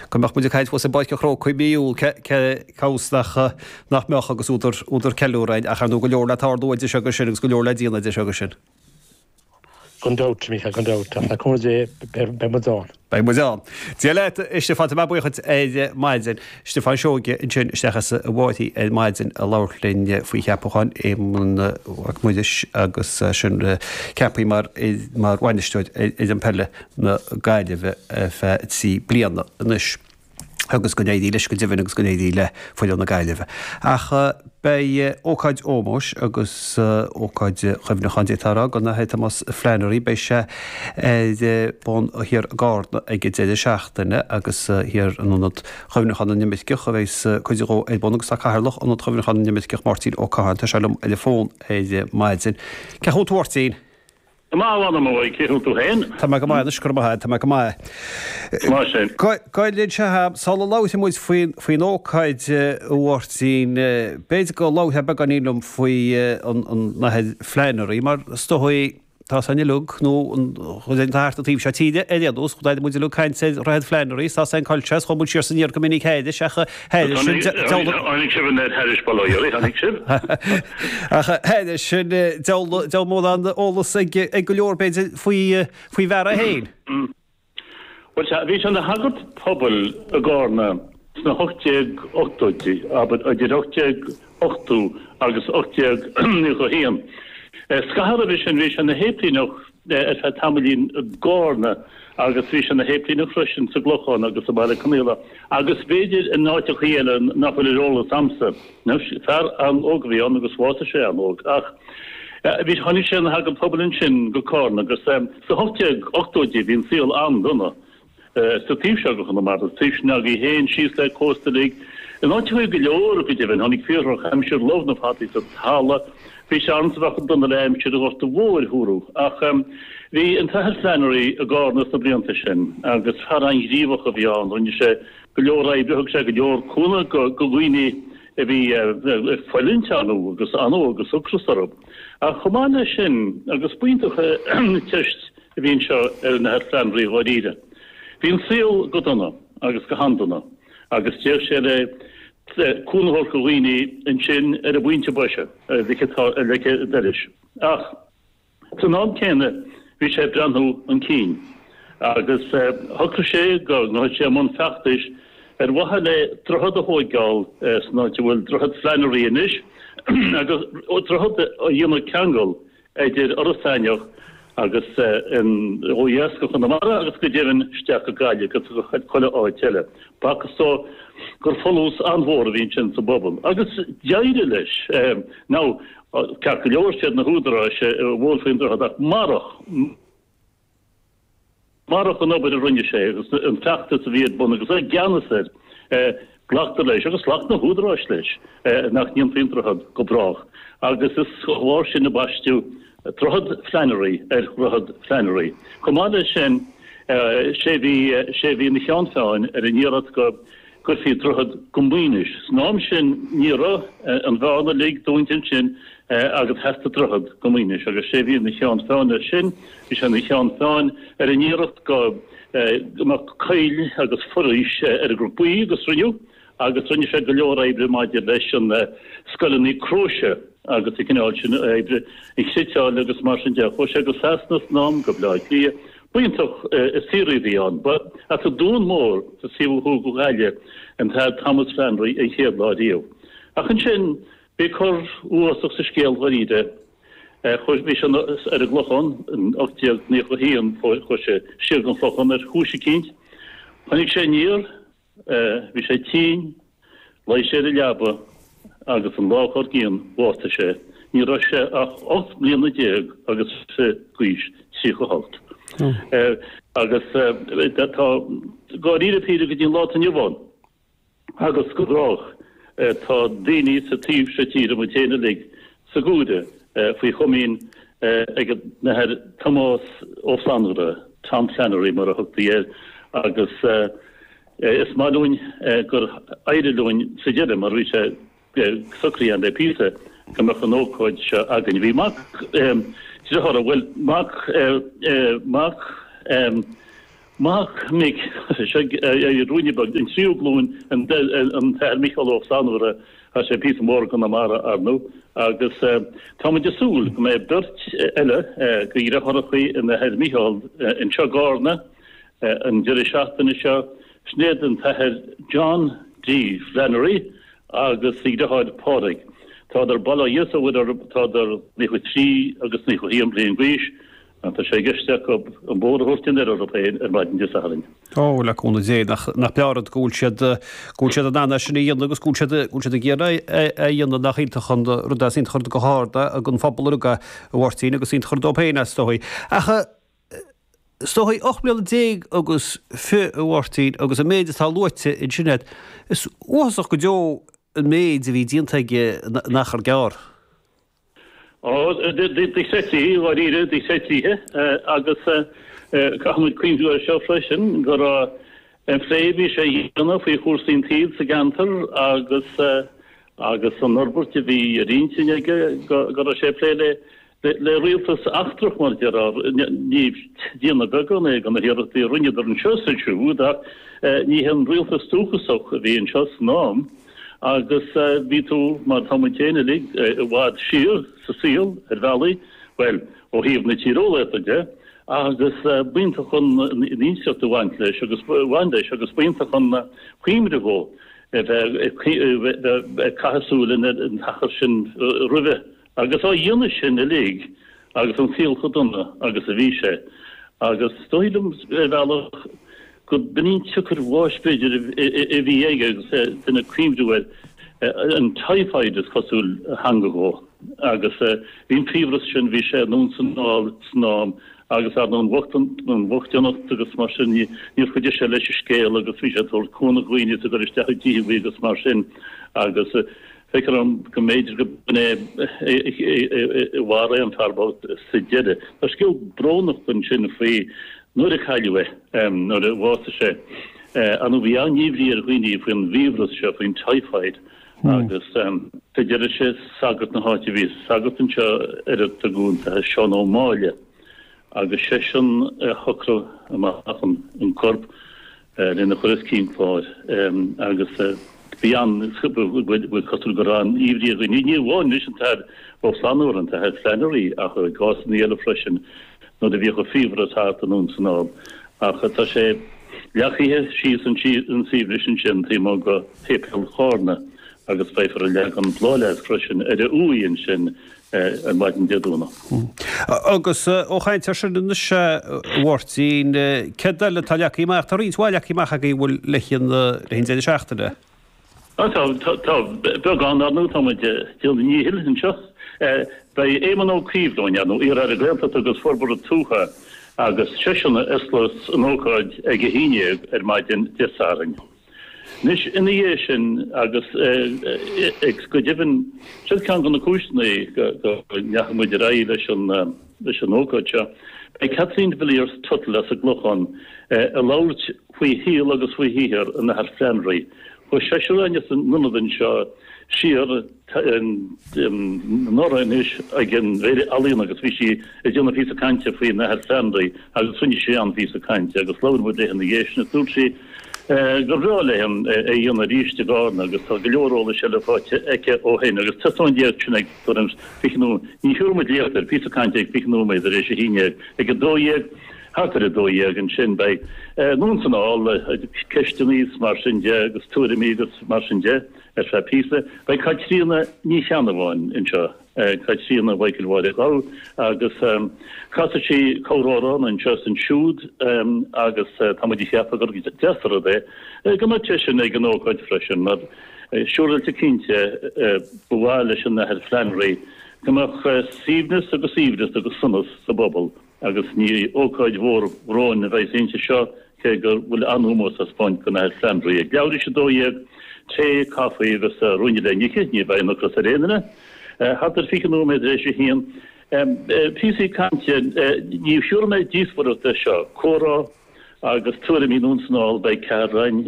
Go mbeadh muid ag caint fós i bPáirc an Chrócaigh mí Iúil, cé fhios nach nach mbeadh agus údar údar ceiliúradh ach ar ndóigh go leor le tarlú idir seo agus sin agus go leor le déanamh idir seo agus sin. Gan dabht, a Mhícheáil, gan dabht. Ach le cúnamh Dé, beidh muid ann. Beidh muid ann. Dia leat, a Stiofáin, tá mé buíoch duit ar maidin. Stiofán Seoige ansin isteach as an bhFairche ar maidin ag labhairt linn faoi cheapachán Éamonn Mac Muiris agus sin ceaptha mar mar bhainisteoir ar fhoireann peile na Gaillimhe ar feadh 3 bliana anois. agus go n-éirí leis go deimhin agus go n-éirí le foireann na Gaillimhe. Ach beidh ócáid ómóis agus ócáid chuimhneacháin, d'fhéadfá a rá, don Athair Tomás Flannery, beidh sé ar bun thiar i gCarna ag an deireadh seachtaine agus thiar in Ionad Chuimhneacháin na nImirceach a bheas cuid dhó ar bun agus tá Cathaoirleach Ionad Chuimhneacháin na nImirceach, Máirtín Ó Catháin, tá sé liom ar an bhfón ar maidin. Cén chaoi a bhfuil tú a Mháirtín? Go maith, a mh'anam uaidh, cén chaoi a bhfuil tú féin? Tá mé go maith anois, go raibh maith agat, tá mé go maith. Maith sin. Gabh i leith, sula labhróidh muid faoin ócáid, a Mháirtín, b'fhéidir go labhrófá beagáinín liom faoi an Athair Flannery, mar is dóigh, tá a fhios againn uilig, nó an chuid againn atá thart an taobh seo tíre ar aon nós, chuala muid uilig caint ar Dhroichead Flannery, tá a fhios againn cá bhfuil sé, is chuaigh muid siar is aniar go minic thairis, ach thairis sin, Tháinig sibh an thairis bail ó Dhia oraibh, tháinig sibh? Ach thairis sin, diabhal mórán eolas ag go leor, b'fhéidir, faoi faoin bhfear é féin. Bhuel, sea, bhí sé ina shagart pobail i gCarna sna 1880idí, abair, idir 1880 agus 1891. Scaitheamh roimhe sin, bhí sé ina shéiplíneach ar feadh tamaillín i gCarna agus bhí sé ina shéiplíneach freisin sa gClochán agus i mBaile Conaola agus b'fhéidir in áiteachaí eile nach bhfuil ar eolas a'msa. Anois, fear an-óg a bhí ann agus bhásaigh sé an-óg ach bhí, tháinig sé ina shagart pobail ansin go Cárna agus sna 1880idí bhí an saol an-dona sa taobh seo de Chonamara, sa taobh sin agaibh féin, síos le cósta uilig, in áiteachaí go leor go deimhin, tháinig fíordhrochaimsir, lobh na fataí sa talamh, bhí sé ann is a bheadh dona le aimsir an Ghorta Mhóir thúrú. Ach bhí an tAthair Flannery i gCárna sna blianta sin agus fear an-ghníomhach a bhí ann, rinne sé go leor oibre, thug sé go leor cúnamh go dhaoine a bhí ag fulaingt anó agus anó agus ocras orthu. Ach chomh maith leis sin, agus b'iontach an teist a bhí anseo ar an Athair Flannery dháiríre, bhí an saol go dona agus go han-dona agus d'fhéach sé le cúnamh a thabhairt go dhaoine ansin ar an bpointe boise, ar leic an dorais. Ach. San am céanna bhí sé ag breathnú chun cinn agus shocraigh sé go ngabhfadh sé i mbun feachtais ar mhaithe le droichead a thóigeáil san áit a bhfuil Droichead Flannery anois agus droichead a dhéanamh ceangal idir Iorras Aithneach agus ó dheas go Chonamara agus go deimhin isteach go Gaillimh agus go chuile áit eile. B'fhacthas dó gur folús an-mhór a bhí ansin sa bpobal agus d'éirigh leis. Now, Ceart go leor, siad na húdaráis a mhol faoin droichead ach marach, marach an obair a rinne sé agus an feachtas a bhí ar bun agus é i gceannas air, glactar leis, agus ghlac na húdaráis leis, nach ndéanfaí an droichead go brách. Agus is dá bharr sin a baisteadh Droichead Flannery ar Dhroichead Flannery. Chomh maith leis sin, sé a bhí, sé a bhí ina cheann feadhain ar an iarracht go, gcuirfí droichead go Maínis. San am sin ní raibh an bhearna uilig dúnta ansin agus theastaigh droichead go Maínis agus sé a bhí ina cheann feadhain air sin, bhí sé ina cheann feadhain ar an iarracht go mbeadh coill agus foraois ar an gCnoc Buí agus rinneadh agus rinne sé go leor oibre maidir leis an scoileanna Cróise agus an cineál sin oibre, an chniotáil agus mar sin de. Chuaigh sé go Sasana san am, go Baile Átha Cliath. B'iontach an saothraí a bhí ann. Ba as an Dún Mór sa taobh ó thuaidh de Ghaillimh an tAthair Thomas Flannery an chéad lá riamh. Ach ansin bhí cor uafásach sa scéal dháiríre. Chuaigh, bhí sé ar an gClochán in 1891, chuaigh sé siar don Chlochán ar chúis eicínt. Tháinig sé aniar. Bhí sé tinn, luigh sé ar an leaba agus an lá dár gcionn bhásaigh sé. Ní raibh sé ach 18 mbliana agus d'aois, 38. Agus tá dáiríre píre go dtí an lá atá inniu ann agus go brách tá daoine sa taobh seo tíre, muid féin uilig, sa gcomhaire faoi chomaoin ag an Athair Tomás Ó Flannagra, Tom Flannery mar a thugtaí air, agus is maith linn gur éirigh linn sa deireadh, mar bhí sé socraithe againn le píosa, go mbeadh an ócáid seo againn. Bhí mac dearthára, bhuel, mac, mac. Mac mic, seo ruainne beag, an tríú glúin, an tAthair Micheál Ó Flannúra, tá sé píosa mór i gConamara, ar ndú, agus tá muid ag súil go mbeidh beirt eile de dheartháireacha an Athair Micheál anseo i gCarna an deireadh seachtaine seo, sin iad an tAthair John D. Flannery agus a dheartháir Pádraig. Tádar, bail ó Dhia is ó Mhuire orthu, tádar 93 agus 91 bliain d'aois. Tá sé i gceist acu an bóthar a thabhairt anoir orthu féin ar maidin Dé Sathairn. Ó, le cúnamh Dé, nach breá an rud go bhfuil siad, go bhfuil siad in ann é sin a dhéanamh agus go bhfuil siad, go bhfuil siad ag iarraidh é a dhéanamh, nach iontach an rud é, is iontach an rud go hard é don phobal uilig é, a Mháirtín, agus iontach an rud dóibh féin é, is dóigh. Ach is dóigh, 18 mbliana agus fi, a Mháirtín, agus an méid atá luaite ansin agat, is uafásach go deo an méid a bhí déanta aige in achar gearr. Ó, dochreidte, dháiríre, dochreidte, agus caithfidh muid cuimhniú air seo freisin, go raibh an plé a bhí sé a dhéanamh faoi chúrsaí an tsaoil sa gceantar agus agus an fhorbairt a bhí ar intinn aige, go raibh sé ag plé le le rialtas eachtrach, mar a déarfá, ní déanamh beagán é de na hiarrachtaí a rinneadar anseo is ansiúd ach ní hé an rialtas dúchasach a bhí anseo san am. Agus bhí tú, mar tá muid féin uilig, i bhfad siar sa saol, ar bhealaí, bhuel, ó thaobh na tíreolaíochta de, agus b'iontach an inseacht a bhaint leis agus bhain leis agus b'iontach an cuimhne dhó a bheith ag caitheamh súil ar an t-achar sin roimhe. Agus á dhéanamh sin uilig, agus an saol chomh dona agus a bhí sé, agus is dóigh liom ar bhealach go b'in í an tsiocair bháis b'fhéidir a bhí aige agus duine ag cuimhniú air, an typhoid is cosúil a theangmhaigh dhó. Agus bhí an fiabhras sin, bhí sé anonn is anall san am agus ar ndóigh an bhochtaineacht agus mar sin, níor chuidigh sé leis an scéal agus bhí sé ag tabhairt cúnamh do dhaoine is ag dul isteach i dtithe agus mar sin agus Feictear dom go mb'fhéidir go b'in é a mharaigh an fear bocht sa deireadh. Tá scéal brónach ansin faoi nuair a cailleadh é, nuair a bhásaigh sé. Ar ndóigh bhí an-imní ar dhaoine faoin bhfiabhras seo, faoin typhoid, agus sa deireadh sé sagart na háite, bhí sagart anseo ar a tugadh an tAthair Seán Ó Máille, agus seisean a shocraigh amach an corp. lena chur os cionn cláir agus bhí an, bhuel cosúil go raibh an-imní ar dhaoine, ní amháin leis an tAthair Ó Flannúra, an tAthair Flannery ach i gcásanna eile freisin nuair a bhíodh an fiabhras thart anonn is anall. Ach tá sé leagtha síos an suaimhneas ansin taobh amuigh de Shéipéal Chárna agus beifear ag leagan bláthfhleasc freisin ar a uaigh ansin ar maidin Dé Domhnaigh. Agus ó chaint air sin anois, a Mháirtín, céard eile atá leagtha amach? Tá roinnt mhaith leagtha amach agaibh, an bhfuil, le haghaidh an deireadh seachtaine. Tá, tá beagán, ar ndóigh, tá muid ag déanamh a ndíchill anseo. Beidh Éamon Ó Cuív romhainn, ar ndóigh, iar-Aire Gaeltachta agus Forbartha Tuaithe, agus seisean a osclós an ócáid ag a haon dhéag ar maidin Dé Sathairn. Anois, ina dhiaidh sin, agus go deimhin, siod ceann de na cúiseanna go ndeachaigh muid ar aghaidh leis an leis an ócáid seo, beidh Kathleen de Villiers Tuttle as an gClochán ag labhairt faoi shaol agus faoi shaothar an Athar Flannery. Chuaigh seisear againn as an ionad anseo siar anuraidh anois ag an bhFéile Ealaíon agus bhí sí ag déanamh píosa cainte faoin Athair Flannery agus rinne sí an-phíosa cainte agus labhair muid léi ina dhiaidh sin agus dúirt sí gur bhreá léi é a dhéanamh arís i gCarna agus tá go leor eolais eile faighte aici ó shin agus 11 sin ag tuairim 20 nóiméad, ní thiúrfaidh muid léacht air, píosa cainte ag 20 nóiméad tar éis a haon dhéag, ag 12, thart ar 12 ansin beidh anonn is anall, ceisteanna is mar sin de agus tuairimí agus mar sin de. Ar feadh píosa, beidh Caitríona Ní Cheannabháin anseo, Caitríona Mhichael Mháire Ghabha, agus casfaidh sí corramhrán anseo is ansiúd agus tá muid ag ceapadh gur deas an rud é go mbeadh seisean ag an ócáid freisin mar siúráilte cinnte ba mhaith leis an Athair Flannery go mbeadh suaimhneas agus aoibhneas agus sonas sa bpobal. Agus ní ócáid mhór bhróin a bheas inti seo, cé go bhfuil an-ómós á spáint don Athair Flannery. Ag leathuair tar éis 12, tae, caife agus ruainne le n-ithe, ní bheidh an ocras ar aon duine. Thart ar 20 nóiméad tar éis a haon, píosaí cainte, ní thiúrfaidh mé díospóireacht air seo, comhrá agus tuairimí anonn is anall, beidh ceathrar againn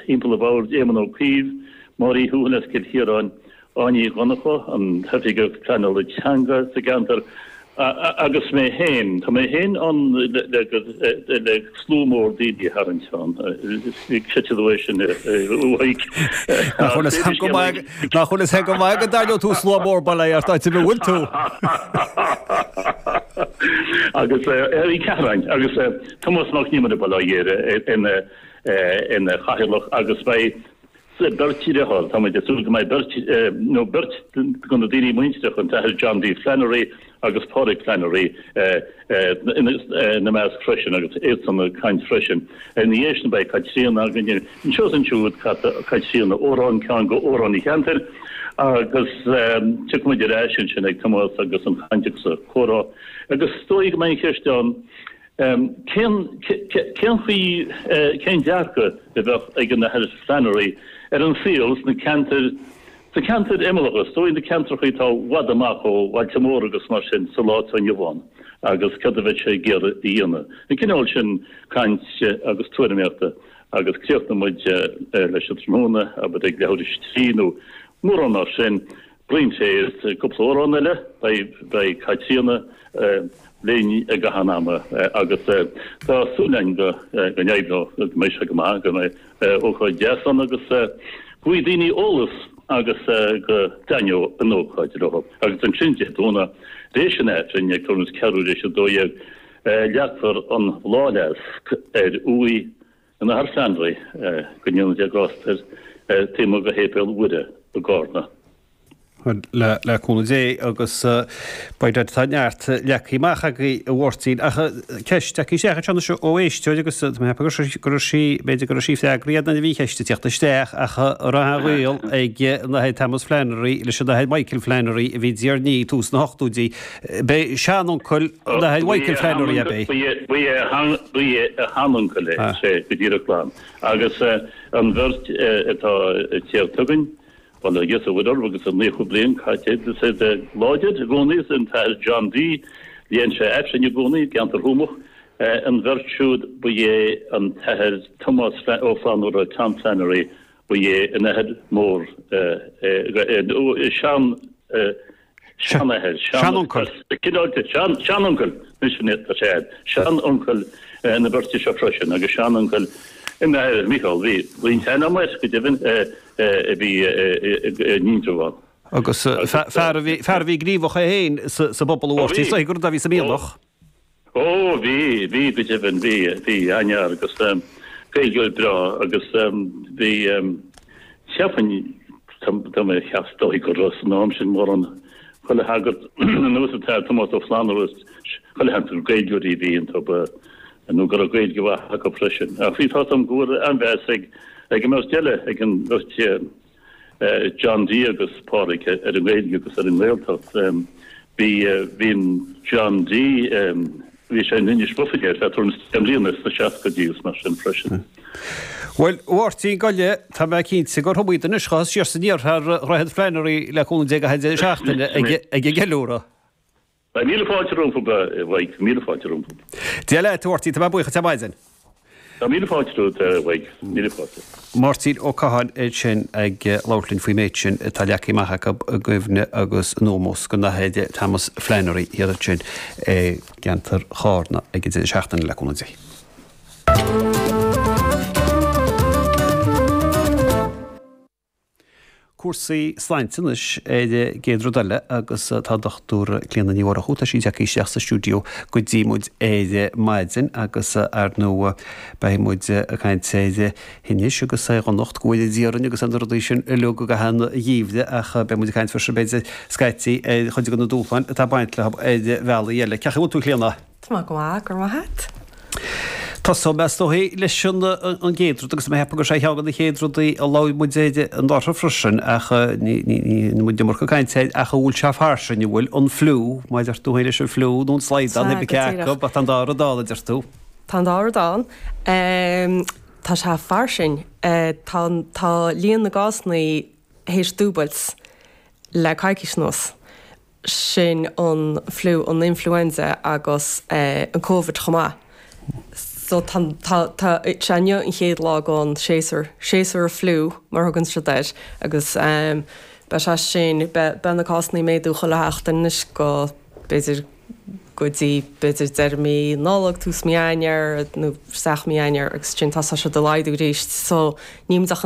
thimpeall an bhoird, Éamon Ó Cuív, Máire Uí Thuathail as Cill Chiaráin, Áine Ní Dhonncha, an tOifigeach Pleanála Teanga sa gceantar. Agus mé féin, tá mé féin ann le slua mór daoine a tharraingt ann. Creidfidh tú é sin, a Mhaidhc. Nach bhfuil fhios agam go maith, nach bhfuil fhios agam go maith go dtarraingeodh tú slua mór bail ó Dhia ort áit ar bith a bhfuil tú. Agus ar Uí Cheathráin agus Tomás Mac Con Iomaire bail ó Dhia air ina chathaoirleach agus beidh Beirt deartháir, tá muid ag súil go mbeidh beirt, nó beirt de na daoine muintireacha, an tAthair John D. Flannery agus Pádraig Flannery ina measc freisin agus iadsan ag caint freisin. Ina dhiaidh sin beidh Caitríona againn anseo is ansiúd, Caitríona amhrán, ceann de amhráin an cheantair agus tiocfaidh muid ar ais ansin ag Tomás agus an chaint agus an comhrá agus is dóigh go mbeidh an cheist ann, Cén chaoi, cén dearcadh a bheadh ag an Athair Flannery ar an saol sna ceantair, sna ceantair imeallacha, is dóigh na ceantracha atá i bhfad amach ó bhailte móra agus mar sin sa lá atá inniu ann agus céard a bheadh sé ag iarraidh a dhéanamh? An cineál sin cainte agus tuairimíochta agus críochnóidh muid leis an tráthnóna, abair ag leathuair tar éis a 3 nó mórán mar sin. Braon tae is cúpla amhrán eile, beidh Caitríona linn i gcaitheamh an ama agus tá súil againn go n-oibreoidh, go mbeidh sé go maith, go mbeidh ócáid deas ann agus go bhfaighidh daoine eolas agus go dtaitneoidh an ócáid leo. Agus ansin Dé Domhnaigh, tar éis an Aifrinn, ag tuairim is ceathrú tar éis 12, leagfar an bhláthfhleasc ar uaigh An Athar Flannery, go ndéana Dia grásta air, taobh amuigh de Shéipéal Mhuire i gCarna. Le cúnamh Dé agus beidh tá neart leagtha amach agaibh a Mháirtín ach ceist tagtha isteach anseo anois ó éisteoir agus tá mé ag ceapadh go raibh sí, b'fhéidir go raibh sí freagraithe nuair a bhí an cheist ag teacht isteach ach an raibh aon ghaol ag an Athair Thomas Flannery leis an Athair Michael Flannery a bhí i dTír an Fhia tús na hochtóidí. B'é seanuncail an Athar Michael Flannery ab é? Ba é a sheanuncail é, sea, go díreach glan. Agus an bheirt atá ag tíocht chugainn, bail ó Dhia is ó Mhuire orthu agus a 90 bliain caite is iad láidir i gcónaí, is an tAthair John D. Léann sé Aifreann i gcónaí i gceantar Thuamach. An bheirt siúd, ba é an tAthair Tomás Ó Flannúra, Tom Flannery, ba é a n-athair mór, sean, Seanathair, seanuncail. Cineál de seanuncail, anois tá sé agat, seanuncail na beirte seo freisin agus seanuncail an Athar Mícheál, bhí roinnt aithne agam air, go deimhin, a bhí in Indreabhán. Agus fear a bhí, fear a bhí gníomhach é féin sa bpobal a Mháirtín, is dóigh gur a bhí sa Mhianach. Ó, bhí, bhí, go deimhin, bhí, bhí, an-fhear agus Gaeilgeoir breá agus bhí, cheapfainn, tá mé ag ceapadh is dóigh go raibh san am sin mórán chuile shagart anuas an tAthair Tomás Ó Flannúra, chuile sheans gur Gaeilgeoirí a bhí iontu nó go raibh Gaeilge mhaith acu freisin. Ach bhí, tá 's agam go bhfuil an-mheas ag an mbeirt eile, ag an mbeirt, John D agus Pádraig ar an nGaeilge agus ar an nGaeltacht. Bhí bhí an John D bhí sé in Inis Mhuirfean ar feadh tuairim is 10 mbliana sna seascaidí agus mar sin freisin. Bhuel, a Mháirtín, gabh i leith, tá mé cinnte gur iomaí duine anois a ghabhfas siar is aniar thar Dhroichead Flannery le cúnamh Dé ag an deireadh seachtaine ag an gceiliúradh. Beidh míle fáilte rompu, a Mhaidhc, míle fáilte rompu. Dia leat, a Mháirtín, tá mé buíoch duit ar maidin. Tá míle fáilte romhat, a Mhaidhc, míle fáilte. Máirtín Ó Catháin ansin ag labhairt linn faoin méid sin atá leagtha amach acu i gcuimhne agus in ómós don Athair Thomas Flannery thiar ansin i gceantar Chárna ag an deireadh seachtaine le cúnamh Dé. Cúrsaí sláinte anois ar an gcéad rud eile agus tá Dr Clíona Ní Mhurchú, tá sí tagtha isteach sa stiúideo go dtí muid ar maidin agus ar ndóigh beidh muid ag caint ar thinnis agus ar dhonacht, go bhfóire Dia orainn agus ar na rudaí sin uilig i gcaitheamh an gheimhridh ach beidh muid ag caint freisin b'fhéidir scaití ar chuid de na dúshláin atá ag baint leo ar bhealaí eile. Cén chaoi a bhfuil tú a Chlíona? Tá mé go maith, go raibh maith agat. Tosóidh mé is dóigh leis an gcéad rud agus mé ag ceapadh gur sé cheann de na chéad rudaí a labhair muid air anuraidh freisin ach ní muid an iomarca cainte air ach an bhfuil sé fairsing, an bhfuil an fliú, mar a deir tú féin leis an fliú nó an slaghdán, Sea, pé go acu, díreach. ach tá an dá rud ann, a deir tú. Tá an dá rud ann. Tá sé fairsing. Tá, tá líon na gcásanna théis dúbailt le coicís anuas. sin an fliú, an influenza agus an Covid chomh maith. So tá, tá, tá sé inniu an chéad lá den séasúr, séasúr an fliú mar a thugann siad air agus beidh sé sin, beidh, beidh na cásanna ag méadú chuile sheachtain anois go b'fhéidir. go dtí b'fhéidir deireadh mí Nollag, tús mí Eanáir nó isteach mí Eanáir agus ansin tosóidh siad ag laghdú arís. So níl muid ach.